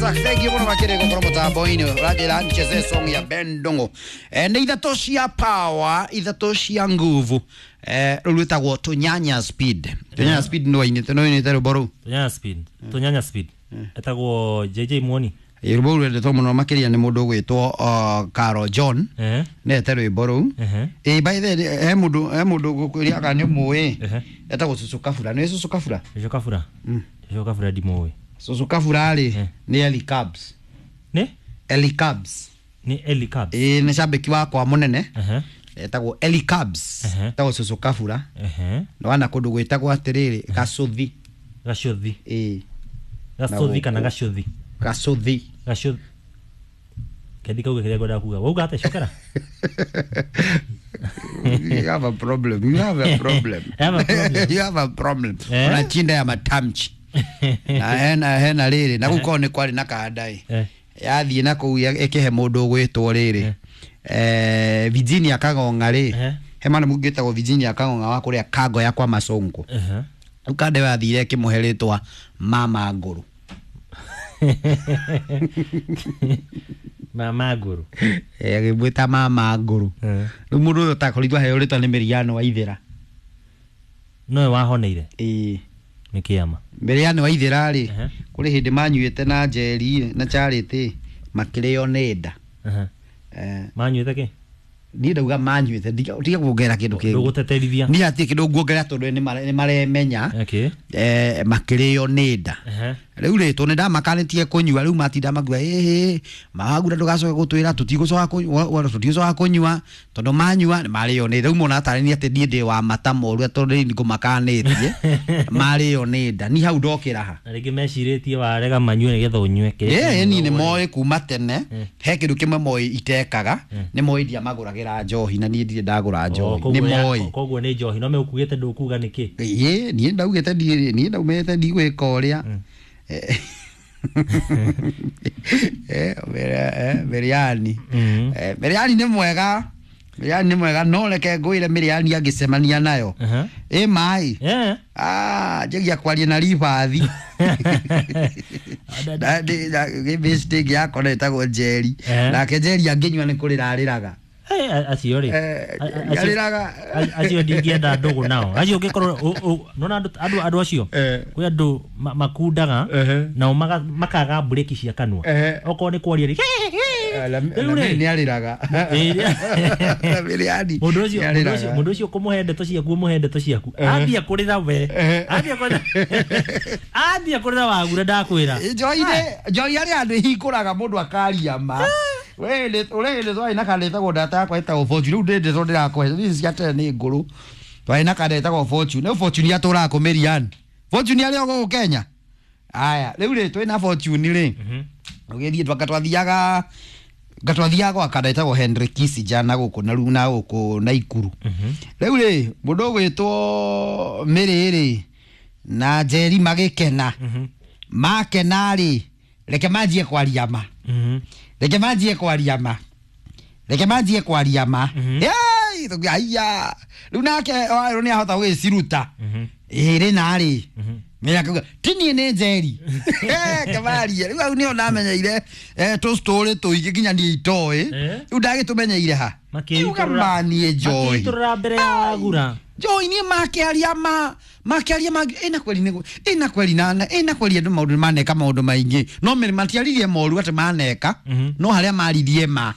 Isaac, thank you muno makĩria gũkorwo mũtambo-inĩ ũranjĩra ncheze song ya Ben Ndung'u. Nĩ ithatũ cia power, ithatũ cia nguvu. Rũu rwĩtagwo Tũnyanya Speed. Tũnyanya Speed nĩ wainĩte, nĩ wainĩte rwĩmbo rũu? Tunyanya Speed. Tunyanya Speed. Etagwo JJ Muoni. Rwĩmbo rũu rwendetwo mũno makĩria nĩ mũndũ ũgwĩtwo Caro John. Nete rwĩmbo rũu. Ĩ, by the way, he mũndũ ngũkwĩria kana nĩ ũmũĩ. Etagwo Cucu Kabura. Nĩ Cucu Kabura? Jojo Kabura. Jojo Kabura ndimũĩ. Cucu Kabura rĩ, nĩ Eli Cubs. Nĩ? Eli Cubs. Nĩ Eli Cubs. Ĩ, nĩ cambĩki wakwa mũnene. Etagwo Eli Cubs. Etagwo Cucu Kabura. Nĩwana kũndũ gwĩtagwo atĩrĩrĩ, Gacũthi. Gacũthi. Ĩ. Gacũthi kana Gacũthi? Gacũthi. Gacũthi. Kendi kauge kĩrĩa ngwendaga kuga. Wauga atĩa? Cokera. You have a problem. You have a problem. I have a problem. You have a problem. Eh? Una chinda ya matamchi. Na hena rĩrĩ na gũkorwo nĩ kwarĩ na kanda ĩ. Yathiĩ na kũu ĩkĩhe mũndũ ũgwĩtwo rĩrĩ. Virginia Kagong'a rĩ. He mwana mũngĩ wĩtagwo Virginia Kagong'a wa kũrĩa Kango ya kwa Masongo. Rĩu kanda ĩyo yathire ĩkĩmũhe rĩtwa Mama Ngũrũ. Mama Ngũrũ. Agĩmwĩta Mama Ngũrũ. Rĩu mũndũ ũyũ ũtakorirwo aheo rĩtwa nĩ Mĩriano wa Ithĩra. Nowe wahoneire. Ĩĩ. Nĩ kĩama. Mĩriano wa Ithĩra rĩ, kũrĩ hĩndĩ manyuĩte na Njeri na Charity makĩrĩo nĩ nda. Manyuĩte kĩ? Niĩ ndauga manyuĩte, tiga kuongerera kĩndũ kĩngĩ. Ndũgũteterithia. Niĩ hatirĩ kĩndũ nguongerera tondũ nĩ maremenya. Makĩrĩo nĩ nda. Rĩu rĩ, tondũ nĩndamakanĩtie kũnyua, rĩu matinda makiuga ĩhĩ, magura ndũgacoke gũtwĩra tũtigũcoka kũnyua tondũ manyua nĩ marĩo nĩ rĩu mona tarĩ niĩ atĩ niĩ ndĩ wa mata moru tondũ rĩu ngũmakanĩtie marĩo nĩ nda, niĩ hau ndokĩra ha. Na rĩngĩ mecirĩtie warega manyue nĩgetha ũnyue kĩrĩa. Ĩĩ, niĩ nĩ moĩ kuma tene he kĩndũ kĩmwe moĩ itekaga, nĩ moĩ ndiamagũragĩra njohi na niĩ ndirĩ ndagũra njohi, nĩ moĩ. Koguo nĩ njohi no megũkugĩte ndũkuga nĩkĩ? Ĩĩ, niĩ ndaugĩte niĩ ndaumĩte ndigwĩka ũrĩa. Mĩrĩani. Mĩrĩani nĩ mwega, Mĩrĩani nĩ mwega, no reke ngwĩre Mĩrĩani angĩcemania nayo ĩ maĩ. Ah, njagia kwaria na ribathi mistake yakwa no ĩtagwo Njeri. Nake Njeri angĩnyua nĩ kũrĩra arĩraga. Acio rĩ, arĩraga. Acio ndingĩenda ndũgũ nao acio ũngĩkorwo nona andũ acio kwĩ andũ makundaga nao makaga mburĩki cia kanua okorwo nĩ kwaria rĩ. Rĩu rĩ, nĩ arĩraga. Mĩrĩani mũndũ ũcio nĩ mũndũ ũcio arĩraga. Mũndũ ũcio kũmũhe ndeto ciaku, ũmũhe ndeto ciaku, ambia kũrĩra we, ambia kũrĩra wagura ndakwĩra. Njohi-inĩ, njohi harĩ handũ ĩhingũraga mũndũ akaria ma. We ũrĩ hĩndĩ twarĩ na kanda ĩtagwo ndata yakwa ĩtagwo Fortune, rĩu ndĩ ndeto ndĩrakũhe ici cia tene nĩ ngũrũ. Twarĩ na kanda ĩtagwo Fortune, rĩu Fortune atũraga kũ Mĩriani? Fortune arĩ o gũkũ Kenya. Aya, rĩu rĩ, twĩna Fortune rĩ, ũgĩthiĩ twanga twathiaga ngatwathiaga gwa kanda ĩtagwo Henry Kissinger na gũkũ na na gũkũ Naikuru. Rĩu rĩ, mũndũ ũgwĩtwo Mĩrĩ rĩ na Njeri magĩkena, makena rĩ, reke manjie kwaria ma, reke manjie kwaria ma, reke manjie kwaria ma. Yei, aiya, rĩu nake warũ nĩ ahota gũgĩciruta ĩrĩ narĩ akauga ti niĩ nĩ Njeri kemarie. Rĩu hau nĩho ndamenyeire tũstory tũingĩ nginya niĩ itoĩ. Rĩu ndagĩtũmenyeire ha? Uga ma niĩ njohi Makĩitũrũra mbere ya wagura. Njohi niĩ makĩaria ma makĩaria ma ĩna kweli nĩ ĩna kweli na ĩna kweli andũ maũndũ maneka maũndũ maingĩ no matiaririe moru atĩ maneka, no harĩa maririe ma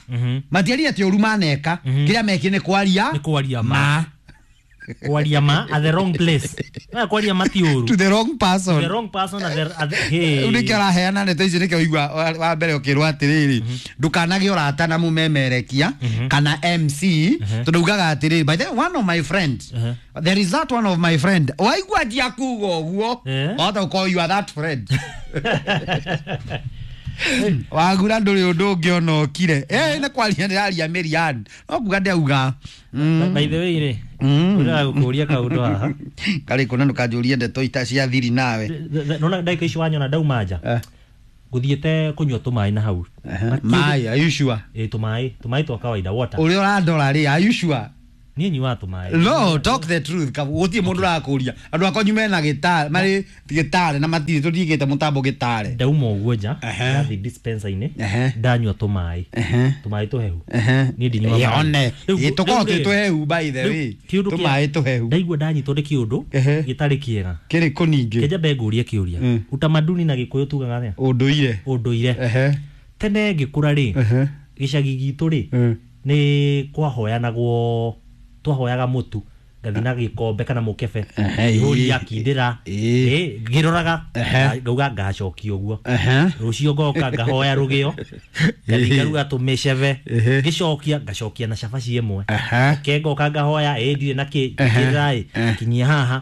matiaririe atĩ ũru maneka, kĩrĩa mekire nĩ kwaria Nĩ kwaria ma. Ma. Kwaria ma at the wrong place. Na kwaria ma ti ũru. To the wrong person. The wrong person at the hey. Rĩu nĩkĩo araheana ndeto icio, nĩkĩo igua wa mbere ũkĩrwo atĩrĩrĩ, ndũkanagĩe ũrata na mũmemerekia kana MC, tondũ ugaga atĩrĩrĩ, by the way, one of my friend, there is that one of my friend, waigua njia kuga ũguo, wahota gũkorwo you are that friend. Wagura ndũrĩ ũndũ ũngĩ ona ũkire. Nĩ kwaria ndĩraria Mĩrian no kuga ndauga. By the way rĩ, ũrĩa gũkũria kaũndũ haha. Karĩ kũna ndũkanjũrie ndeto ita cia thiri nawe. Nona ndagĩka ici wanyona ndauma nja ngũthiĩte kũnyua tũmaĩ na hau. Maĩ, are you sure? Ĩ, tũmaĩ twa kawaida, water. Ũrĩa ũrandora rĩ, are you sure? Niĩ nyuaga tũmaĩ. No, talk the truth. Gũtirĩ mũndũ ũrakũria. Andũ akwa nyume na gĩtarĩ, marĩ gĩtarĩ na matirĩ tũtigĩte mũtambo gĩtarĩ. Ndauma ũguo nja, ndathiĩ dispenser-inĩ, ndanyua tũmaĩ. Tũmaĩ tũhehu. Niĩ ndinyuaga maĩ. One. Rĩu- Tũkoragwo rĩu twĩ rĩ- tũhehu by the rĩu way. kĩũndũ kĩa- Tũmaĩ tũhehu. Ndaigua ndanyitwo nĩ kĩũndũ gĩtarĩ kĩega. Kĩrĩkũ ningĩ? Kĩnjambe ngũrie kĩũria. Utamaduni na Gĩkũyũ tugaga atĩa? Ũndũire. Ũndũire. Tene ngĩkũra rĩ, gĩcagi gitũ rĩ, nĩ kwahoyanagwo, twahoyaga mũtu ngathi na gĩkombe kana mũkebe, ihũri akindĩra, ngĩroraga ngauga ngacokia ũguo, rũciũ ngoka ngahoya rũgĩo, ngathi ngaruga tũmĩcebe, ngĩcokia ngacokia na cabaci ĩmwe, ke ngoka ngahoya ndirĩ na kĩ kĩra ĩ kinyia haha,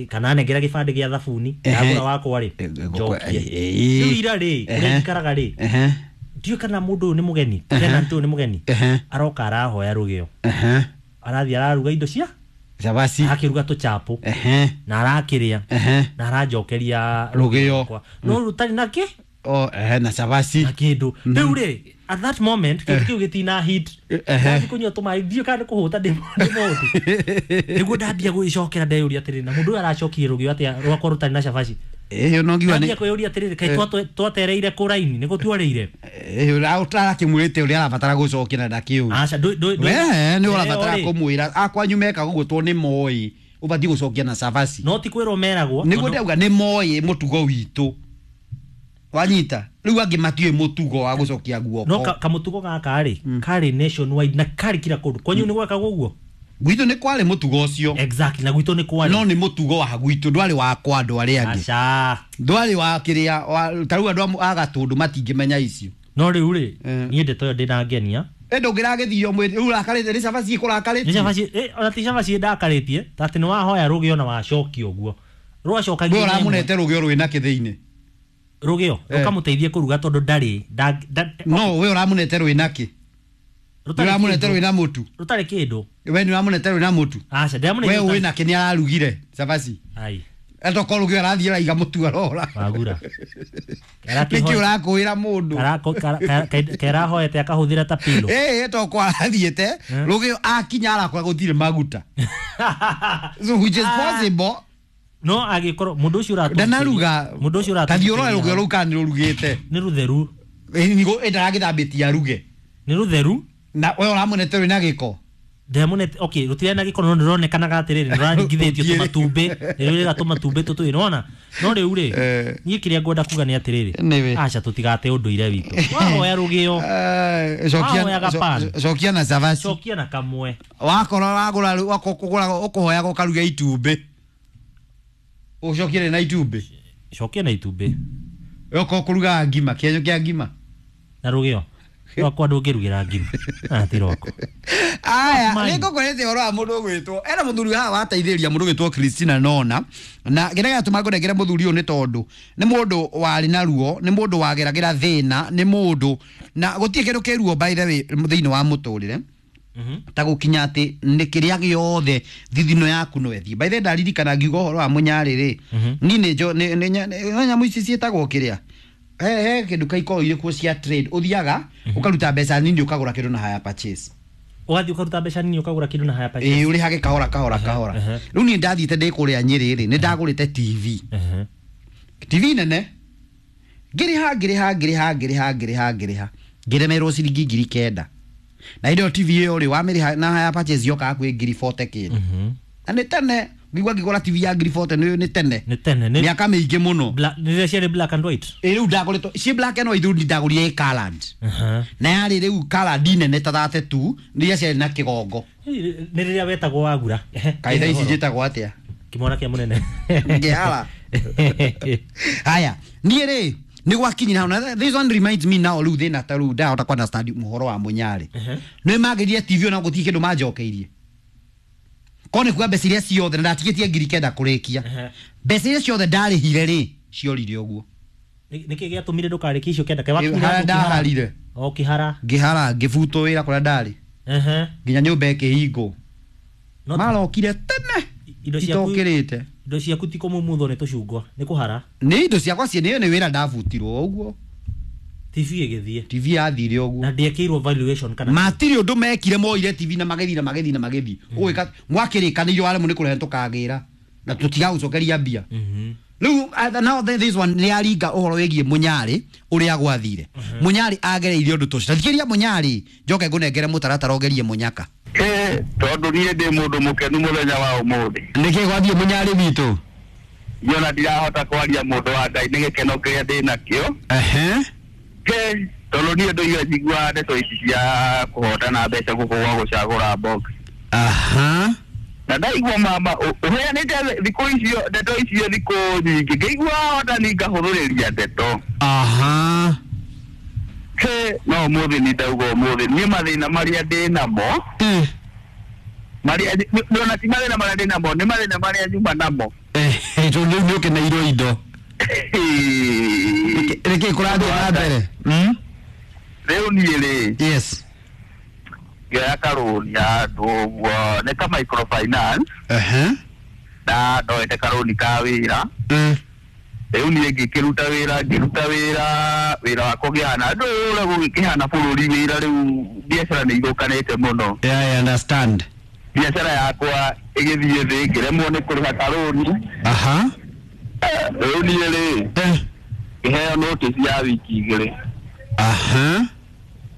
kana nengera gĩbandĩ gĩa thabuni ndagũra wakwa rĩ njokie. Rĩu ira rĩ ũrĩa njikaraga rĩ, ndiũĩ kana mũndũ ũyũ nĩ mũgeni, tenant ũyũ nĩ mũgeni, aroka arahoya rũgĩo, arathiĩ araruga indo cia cabaci, akĩruga tũchapo na arakĩrĩa na aranjokeria rũgĩo no rũtarĩ na kĩ na cabaci na kĩndũ. Rĩu rĩ at that moment kĩndũ kĩu gĩtina hit, ndathi kũnyua tũmaĩ ndiũĩ kana nĩ kũhũta ndĩ mũhũtu, nĩguo ndambia gwĩcokera ndeyũria atĩrĩrĩ, na mũndũ ũyũ aracokirie rũgĩo atĩa rwakwa rũtarĩ na cabaci? Ĩyo no ngiuga nĩ ndambia kwĩyũria atĩrĩrĩ, kaĩ twatereire kũraini nĩguo tuarĩire? Ũtarakĩmwĩrĩte ũrĩa arabatara gũcokia na ndakĩũĩ. Aca, we nĩ ũrabatara kũmwĩra akwanyu mekaga ũguo tondũ nĩ moĩ ũbatiĩ gũcokia na cabaci. No ti kwĩrwo meragwo. Nĩguo ndauga nĩ moĩ mũtugo witũ. Wanyita rĩu angĩ matiũĩ mũtugo wa gũcokia guoko. No kamũtugo gaka rĩ karĩ nationwide na karĩ kila kũndũ. Kwanyu nĩ gwekagwo ũguo? Gwitũ nĩ kwarĩ mũtugo ũcio. Exactly, na gwitũ nĩ kwarĩ. No nĩ mũtugo wa gwitũ, ndwarĩ wa kwa andũ arĩa angĩ. Aca. Ndwarĩ wa kĩrĩa, ta rĩu andũ a Gatũndũ matingĩmenya icio. No rĩu rĩ, niĩ ndeto ĩyo ndĩrangenia. Ndũngĩragĩthio mwĩrĩ, rĩu ũrakarĩte nĩ cabaci ĩkũrakarĩtie. Nĩ cabaci, ona ti cabaci ndakarĩtie, ta atĩ nĩ wahoya rũgĩo na wacokia ũguo. Rwacokagia. Wewe ũramũnete rũgĩo rwĩna kĩ thĩinĩ? Rũgĩo rũkamũteithie kũruga tondũ ndarĩ. No, we ũramũnete rwĩna kĩ? Ũramũnete rwĩna mũtu. Rũtarĩ kĩndũ. We nĩ ũramũnete rwĩna mũtu. Aca, ndĩramũnete. We wĩna kĩ nĩ ararugire cabaci. Ai. Atokorwo rũgĩo arathiĩ araiga mũtu arora. Wagura. Nĩkĩ ũrakũĩra mũndũ? Kerahoete akahũthĩra ta pillow. Tokorwo arathiĩte rũgĩo akinya arakora gũtirĩ maguta. So which is possible. No agĩkorwo mũndũ ũcio ũratũ ndanaruga, mũndũ ũcio ũratũ tathiĩ ũrore rũgĩo rũu kana nĩ rũrugĩte. Nĩ rũtheru. Ndaragĩthambĩtie aruge. Nĩ rũtheru. Na we ũramũnete rwĩna gĩko. Ndĩramũnete, okay, rũtirĩ na gĩko no nĩrũronekanaga atĩrĩrĩ, nĩrũraringithĩtio tũmatumbĩ, nĩrũrĩga tũmatumbĩ tũtũ, nĩwona? No rĩu rĩ, niĩ kĩrĩa ngwenda kuga nĩ atĩrĩrĩ, aca tũtigate ũndũire witũ. Wahoya rũgĩo, wahoyaga pan, cokia na cabaci, cokia na kamwe. Wakorwo wagũra ũkũhoyaga ũkaruga itumbĩ, ũcokie na itumbĩ. Cokia na itumbĩ. Ũkorwo kũrugaga ngima, kĩenyo kĩa ngima na rũgĩo rwakwa ndũngĩrugĩra ngima. Ti rwakwa. Aya, nĩngũkwĩrĩte ũhoro wa mũndũ ũgwĩtwo ena mũthuri haha wateithĩrĩria mũndũ ũgwĩtwo Christina Nona, na kĩrĩa gĩatũma ngũnengere mũthuri ũyũ nĩ tondũ nĩ mũndũ warĩ na ruo, nĩ mũndũ wageragĩra thĩna, nĩ mũndũ na gũtirĩ kĩndũ kĩ ruo by the way thĩinĩ wa mũtũrĩre ta gũkinya atĩ nĩ kĩrĩa gĩothe thithino yaku no ĩthiĩ. By the way ndaririkana ngiuga ũhoro wa mũnyarĩ rĩ, niĩ nĩ nyamũ ici ciĩtagwo kĩrĩa he kĩndũ kaikorwo irĩ kuo cia trade, ũthiaga ũkaruta mbeca nini ũkagũra kĩndũ na hire purchase. Ũgathiĩ ũkaruta mbeca nini ũkagũra kĩndũ na hire purchase. Ĩĩ, ũrĩhage kahora kahora kahora. Rĩu niĩ ndathiĩte ndĩ kũrĩa Nyĩrĩ rĩ, nĩ ndagũrĩte TV. TV nene. Ngĩrĩha ngĩrĩha ngĩrĩha ngĩrĩha ngĩrĩha ngĩrĩha. Ngĩremerwo ciringi 9,000. Na hĩndĩ ĩyo TV ĩyo rĩ, wamĩrĩha na hire purchase yokaga kwĩ 40,000 kĩndũ. Na nĩ tene, ngĩigua ngĩgũra TV ya 40,000 nĩ tene. Nĩ tene, nĩ mĩaka mĩingĩ mũno. Nĩ rĩrĩa ciarĩ black and white. Ĩ rĩu ndagũrĩtwo ci black and white, rĩu ndagũrire ĩ colored. Na yarĩ rĩu colored nene ta 32, nĩ iria ciarĩ na kĩgongo. Nĩ rĩrĩa wetagwo wagura. Kaĩ thaa ici njĩtagwo atĩa? Kĩmwana kĩa mũnene. Ngĩhara. Haya, niĩ rĩ nĩ gwakinyire hau, na this one reminds me now rĩu thĩna ta rĩu ndahota ku understand mũhoro wa mũnyarĩ. Nĩ magĩrire TV ona gũtirĩ kĩndũ manjokeirie. Korwo nĩ kuga mbeca iria ciothe na ndatigĩtie 9,000 kũrĩkia. Mbeca iria ciothe ndarĩhire rĩ, ciorire ũguo. Nĩkĩ gĩatũmire ndũkarĩkie icio 9? Kaĩ wakinyire Harĩa handũ ũkĩhara? ndaharire. O ũkĩhara. Ngĩhara, ngĩbutwo wĩra kũrĩa ndarĩ. Nginya nyũmba ĩkĩhingwo. Marokire tene. Indo ciaku itokĩrĩte. Indo ciaku ti kũmumuthwo nĩ tũcungwa, nĩ kũhara. Nĩ indo ciakwa ciĩ nĩ wĩra ndabutirwo ũguo. TV ĩgĩthiĩ. TV yathire ũguo. Na ndĩekĩirwo valuation kana Matirĩ ũndũ mekire, moire TV na magĩthiĩ na magĩthiĩ na magĩthiĩ. Ũgwĩka mwakĩrĩkanĩirio waremwo nĩ kũrehe tũkagĩra na tũtigagũcokeria mbia. Rĩu now this one nĩ aringa ũhoro wĩgiĩ Mũnyarĩ ũrĩa gwathire. Mũnyarĩ agereirie ũndũ ta ũcio. Ta thikĩrĩria Mũnyarĩ, njoke ngũnengere mũtaratara ũgerie Mũnyaka. Tondũ niĩ ndĩ mũndũ mũkenu mũthenya wa ũmũthĩ. Nĩkĩ gwathiĩ Mũnyarĩ witũ? Niĩ ona ndirahota kwaria mũndũ wa Ngai nĩ gĩkeno kĩrĩa ndĩ nakĩo. Tondũ niĩ ndũire njiguaga ndeto ici cia kũhotana mbeca gũkũ gwa gũcagũra box. Na ndaigua mama ũheanĩte thikũ icio ndeto icio thikũ nyingĩ, ngĩigua hotani ngahũthũrĩria ndeto. No ũmũthĩ nĩ ndauga ũmũthĩ niĩ mathĩna marĩa ndĩ namo, marĩa ona ti mathĩna marĩa ndĩ namo, nĩ mathĩna marĩa nyuma namo. Tondũ rĩu nĩ ũkeneirwo indo. Nĩkĩ kũrathiĩ na mbere? Rĩu niĩ rĩ, Yes. ngĩoya karũni handũ ũguo nĩ ka microfinance. Na ndoete karũni ka wĩra. Rĩu niĩ ngĩkĩruta wĩra, ngĩruta wĩra, wĩra wakwa ũkĩhana ndũĩ ũrĩa gũgĩkĩhana bũrũri wĩra rĩu biacara nĩ ithũkanĩte mũno. Yeah, I understand. Biacara yakwa ĩgĩthiĩ thĩ, ngĩremwo nĩ kũrĩha karũni. Rĩu niĩ rĩ, ngĩheo notice ya wiki igĩrĩ.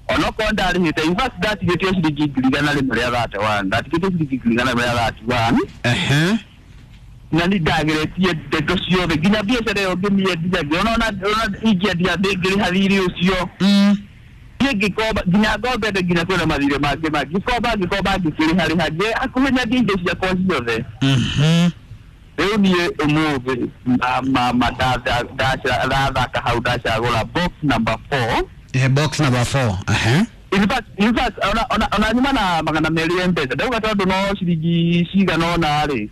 Onokorwo ndarĩhĩte, in fact ndatigĩtio ciringi 131,000, ndatigĩtio ciringi 131,000. Na nĩ ndageretie ndeto ciothe nginya biacara ĩyo ngĩmĩendia, ngĩona ona ingĩendia ndĩngĩrĩha thirĩ ũcio. Niĩ ngĩkomba nginya ngombete nginya kwĩna mathirĩ mangĩ mangĩ, ngĩkomba ngĩkomba ngĩkĩrĩha rĩha hakuhĩ nyendie indo ciakwa ciothe. Rĩu niĩ ũmũthĩ mama ndathaka hau ndacagũra box number 4. Box number 4. In fact, ona nyuma na 200 ya M-Pesa ndauga tondũ no ciringi cigana ũna rĩ,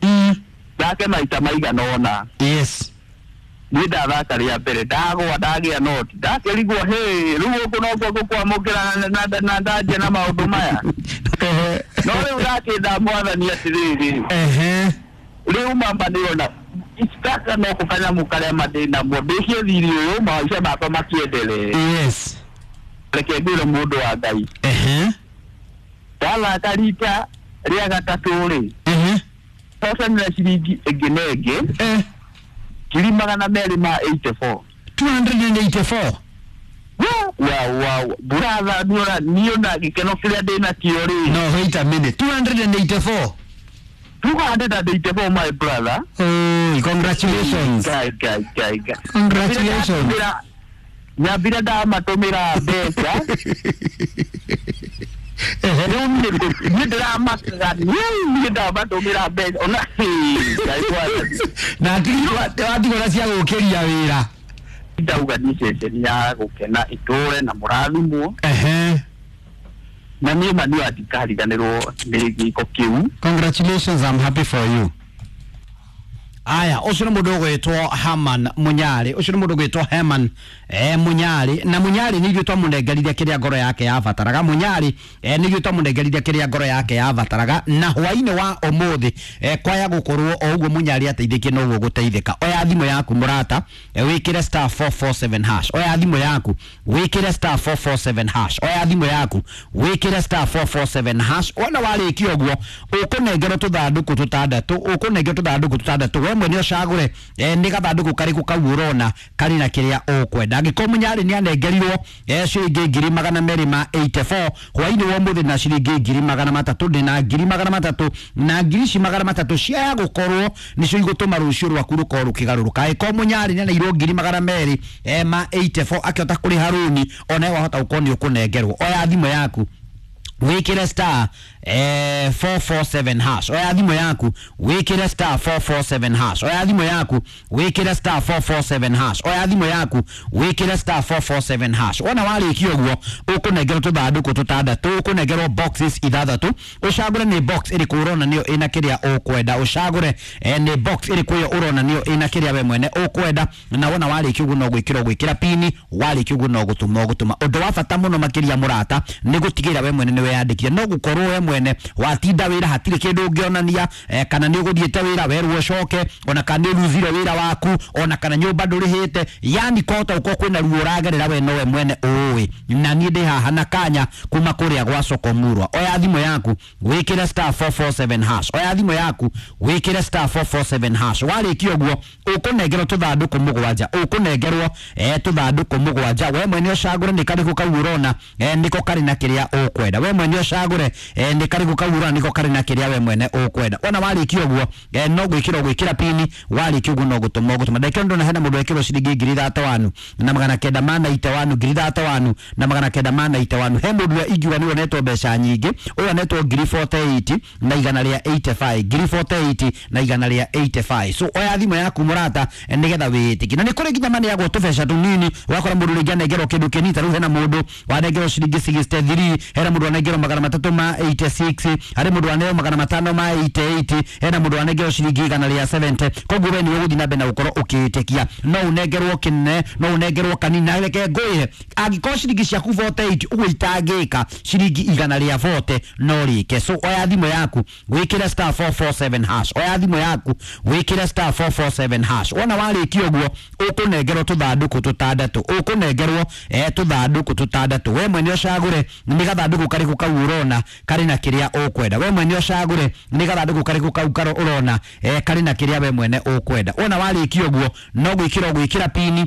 ndake maita maigana ũna. Yes. Niĩ ndathaka rĩa mbere ndagwa ndagĩa noti ndakĩrigwo hĩ rĩu gũkũ nokuo gũkwamũkĩra na ndanjia na maũndũ maya. No rĩu ndakĩnda mwathani atĩrĩrĩ, rĩu mamba nĩona gaka no kanyamũ karĩa mandĩ namo ndĩkie thirĩ ũyũ maica makwa makĩendelee. Yes. Reke ngwĩre mũndũ wa Ngai. Ndathaka rita rĩa gatatũ rĩ, hotanĩra ciringi ĩngĩ na ĩngĩ 284,000. 284. Wow, wow. Brother, niĩ ona gĩkeno kĩrĩa ndĩ nakĩo rĩ. No, wait a minute. 284. 284, my brother. Oh, congratulations. Guy, guy, guy, guy. Congratulations. Nyambire ndamatũmĩra mbeca. Rĩu niĩ ndĩramakaga, niĩ ndamatũmĩra mbeca. Ona, Ngai mwathani. Na watigwo na cia gũkĩria wĩra. Ndauga nĩ ceceni ya gũkena itũre na mũrathimwo. Na niĩ ma niĩ ndikariganĩrwo nĩ gĩko kĩu. Congratulations, I'm happy for you. Aya, ũcio nĩ mũndũ ũgwĩtwo Herman Mũnyarĩ, ũcio nĩ mũndũ ũgwĩtwo Herman Mũnyarĩ, na Mũnyarĩ nĩ ithuĩ twamũnengerire kĩrĩa ngoro yake yabataraga. Mũnyarĩ nĩ ithuĩ twamũnengerire kĩrĩa ngoro yake yabataraga, na hwainĩ wa ũmũthĩ kwaya gũkorwo o ũguo Mũnyarĩ ateithĩkie noguo gũteithĩka. Oya thimũ yaku mũrata, wĩkĩre star 447 hash. Oya thimũ yaku wĩkĩre star 447 hash. Oya thimũ yaku wĩkĩre star 447 hash. Wona warĩkia ũguo ũkũnengerwo tũthandũkũ tũtandatũ, ũkũnengerwo tũthandũkũ tũtandatũ, we mwene ũcagũre nĩ gathandũkũ karĩkũ kau ũrona karĩ na kĩrĩa ũkwenda. Angĩkorwo Mũnyarĩ nĩ anengerirwo ciringi 284,000 hwainĩ wa ũmũthĩ na ciringi 300,000 ndĩ na 300,000 na ngiri ici 300 ciaya gũkorwo nĩcio igũtũma rũciũ rwaku rũkorwo rũkĩgarũrũka. Angĩkorwo Mũnyarĩ nĩ aneirwo 284,000 akĩhota kũrĩha rũni, onawe wahota gũkorwo nĩ ũkũnengerwo. Oya thimũ yaku wĩkĩre star 447 hash. Oya thimũ yaku wĩkĩre star 447 hash. Oya thimũ yaku wĩkĩre star 447 hash. Oya thimũ yaku wĩkĩre star 447 hash. Wona warĩkia ũguo ũkũnengerwo tũthandũkũ tũtandatũ, ũkũnengerwo boxes ithathatũ, ũcagũre nĩ box ĩrĩkũ ũrona nĩyo ĩna kĩrĩa ũkwenda, ũcagũre nĩ box ĩrĩkũ ĩyo ũrona nĩyo ĩna kĩrĩa we mwene ũkwenda, na wona warĩkia ũguo no gwĩkĩra ũgwĩkĩra pini, warĩkia ũguo no gũtũma ũgũtũma. Ũndũ wa bata mũno makĩria mũrata nĩ gũtigĩrĩra we mwene nĩ weyandĩkire, no gũkorwo we mwene mwene watinda wĩra hatirĩ kĩndũ ũngĩonania kana nĩ ũgũthiĩte wĩra werwo ũcoke, ona kana nĩ ũruzire wĩra waku, ona kana nyũmba ndũrĩhĩte, yani kwahota gũkorwo kwĩna ruo ũragerera we nowe mwene ũĩ. Na niĩ ndĩ haha na kanya kuma kũrĩa gwa Soko Murwa. Oya thimũ yaku wĩkĩre star 447 hash, oya thimũ yaku wĩkĩre star 447 hash. Warĩkia ũguo ũkũnengerwo tũthandũkũ mũgwanja, ũkũnengerwo tũthandũkũ mũgwanja. We mwene ũcagũre nĩ karĩkũ kau ũrona nĩko karĩ na kĩrĩa ũkwenda. We mwene ũcagũre nĩ karĩkũ kau ũrona nĩko karĩ na kĩrĩa we mwene ũkwenda. Wona warĩkia ũguo no gwĩkĩra ũgwĩkĩra pini, warĩkia ũguo no gũtũma ũgũtũma. Ndekio ndona hena mũndũ wekĩrwo ciringi 31,991, 31,991. He mũndũ ũrĩa ingiuga nĩwe onetwo mbeca nyingĩ, ũyũ onetwo 48 na igana rĩa 85, 48 na igana rĩa 85. So oya thimũ yaku mũrata nĩgetha wĩĩtĩkie. Na nĩ kũrĩ nginya maneagwo tũbeca tũnini, ũgakora mũndũ rĩngĩ anengerwo kĩndũ kĩnini. Ta rĩu hena mũndũ wanengerwo ciringi 63, hena mũndũ wanengerwo 386, harĩ mũndũ waneo 588, hena mũndũ wanengerwo ciringi 170. Koguo we nĩwe ũgũthiĩ na mbere na gũkorwo ũkĩĩtĩkia. No ũnengerwo kĩnene, no ũnengerwo kanini. Na reke ngwĩre, angĩkorwo ciringi ciaku 48 ũguo itangĩka ciringi 140 no rĩke. So oya thimũ yaku wĩkĩre star 447 hash, oya thimũ yaku wĩkĩre star 447 hash. Wona warĩkia ũguo ũkũnengerwo tũthandũkũ tũtandatũ, ũkũnengerwo tũthandũkũ tũtandatũ. We mwene ũcagũre nĩ gathandũkũ karĩkũ kau ũrona karĩ na kĩrĩa ũkwenda. We mwene ũcagũre nĩ gathandũkũ karĩkũ kau ũrona karĩ na kĩrĩa we mwene ũkwenda. Wona warĩkia ũguo no gwĩkĩra ũgwĩkĩra pini,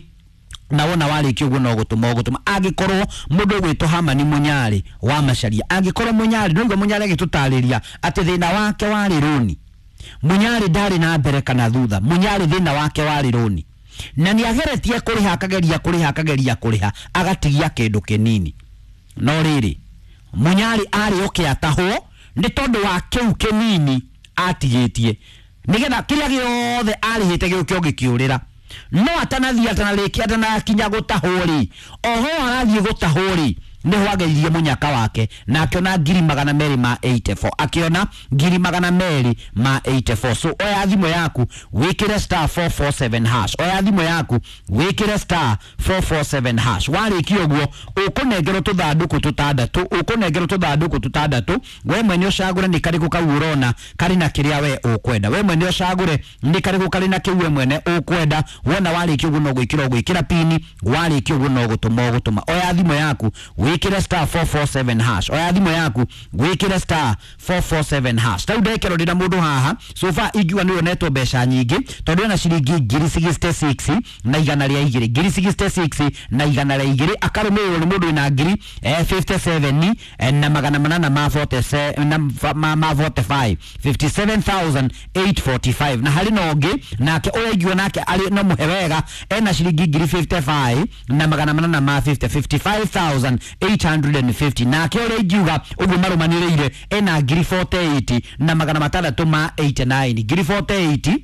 na wona warĩkia ũguo no gũtũma ũgũtũma. Angĩkorwo mũndũ ũgwĩtwo Hamani Mũnyarĩ wa Macharia, angĩkorwo Mũnyarĩ no igua Mũnyarĩ agĩtũtarĩria atĩ thĩna wake warĩ rũni. Mũnyarĩ ndarĩ na mbere kana thutha, Mũnyarĩ thĩna wake warĩ rũni, na nĩ ageretie kũrĩha, akageria kũrĩha, akageria kũrĩha, agatigia kĩndũ kĩnini. No rĩrĩ, Mũnyarĩ arĩ oke atahwo nĩ tondũ wa kĩu kĩnini atigĩtie, nĩgetha kĩrĩa gĩothe arĩhĩte gĩũke ũgĩkĩũrĩra. No atanathiĩ, atanarĩkia, atanakinya gũtahwo rĩ, oho arathiĩ gũtahwo rĩ, nĩho ageirie mũnyaka wake na akĩona 284, akĩona 284. So oya thimũ yaku wĩkĩre star 447 hash, oya thimũ yaku wĩkĩre star 447 hash. Warĩkia ũguo ũkũnengerwo tũthandũkũ tũtandatũ, ũkũnengerwo tũthandũkũ tũtandatũ. We mwene ũcagũre nĩ karĩkũ kau ũrona karĩ na kĩrĩa we ũkwenda. We mwene ũcagũre nĩ karĩkũ karĩ na kĩu we mwene ũkwenda. Wona warĩkia ũguo no gwĩkĩra ũgwĩkĩra pini, warĩkia ũguo no gũtũma ũgũtũma. Oya thimũ yaku wĩkĩre star 447 hash, oya thimũ yaku wĩkĩre star 447 hash. Tau ndekero ndĩna mũndũ haha so far ingiuga nĩwe onetwo mbeca nyingĩ, tondũ ena ciringi 66 na igana rĩa igĩrĩ, 66 na igana rĩa igĩrĩ, akarũmĩrĩrwo nĩ mũndũ wĩna 57 na magana manana ma 47 na ma 45, 57,845. Na harĩ na ũngĩ nake ũrĩa ingiuga nake arĩ no mũhe wega, ena ciringi 55 na magana manana ma 50, 55,850. Nake ũrĩa ingiuga ũguo marũmanĩrĩire ena 48 na magana matandatũ ma 89, 48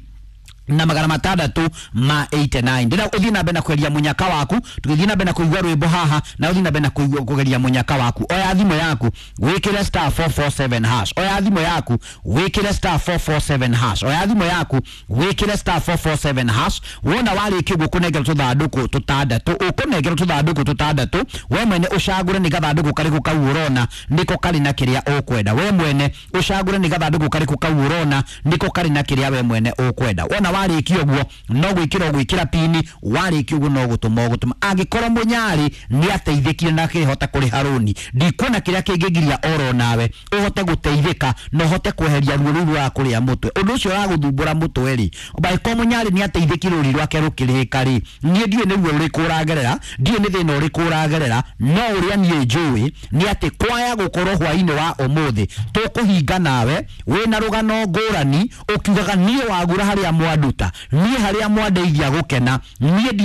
na magana matandatũ ma 89. Ndĩra ũthiĩ na mbere na kweria mũnyaka waku, tũgĩthiĩ na mbere na kũigua rwĩmbo haha, na ũthiĩ na mbere na kũigua kũgeria mũnyaka waku. Oya thimũ yaku wĩkĩre star 447 hash, oya thimũ yaku wĩkĩre star 447 hash, oya thimũ yaku wĩkĩre star 447 hash. Wona warĩkia ũguo ũkũnengerwo tũthandũkũ tũtandatũ, ũkũnengerwo tũthandũkũ tũtandatũ. We mwene ũcagũre nĩ gathandũkũ karĩkũ kau ũrona nĩko karĩ na kĩrĩa ũkwenda. We mwene ũcagũre nĩ gathandũkũ karĩkũ kau ũrona nĩko karĩ na kĩrĩa we mwene ũkwenda. Wona warĩkia ũguo no gwĩkĩra ũgwĩkĩra pini, warĩkia ũguo no gũtũma ũgũtũma. Angĩkorwo Mũnyarĩ nĩ ateithĩkire na akĩhota kũrĩha rũni, ndikuona kĩrĩa kĩngĩgiria oro nawe ũhote gũteithĩka na ũhote kweheria ruo rũu rwa kũrĩa mũtwe. Ũndũ ũcio ũragũthumbũra mũtwe rĩ, angĩkorwo Mũnyarĩ nĩ ateithĩkire rũri rwake rũkĩrĩhĩka rĩ, niĩ ndiũĩ nĩ ruo rũrĩkũ ũragerera, ndiũĩ nĩ thĩna ũrĩkũ ũragerera, no ũrĩa niĩ njũĩ nĩ atĩ kwaya gũkorwo hwainĩ wa ũmũthĩ tũkũhinga nawe wĩna rũgano ngũrani ũkiugaga niĩ wagura harĩa mwanduta, niĩ harĩa mwandeithia gũkena, niĩ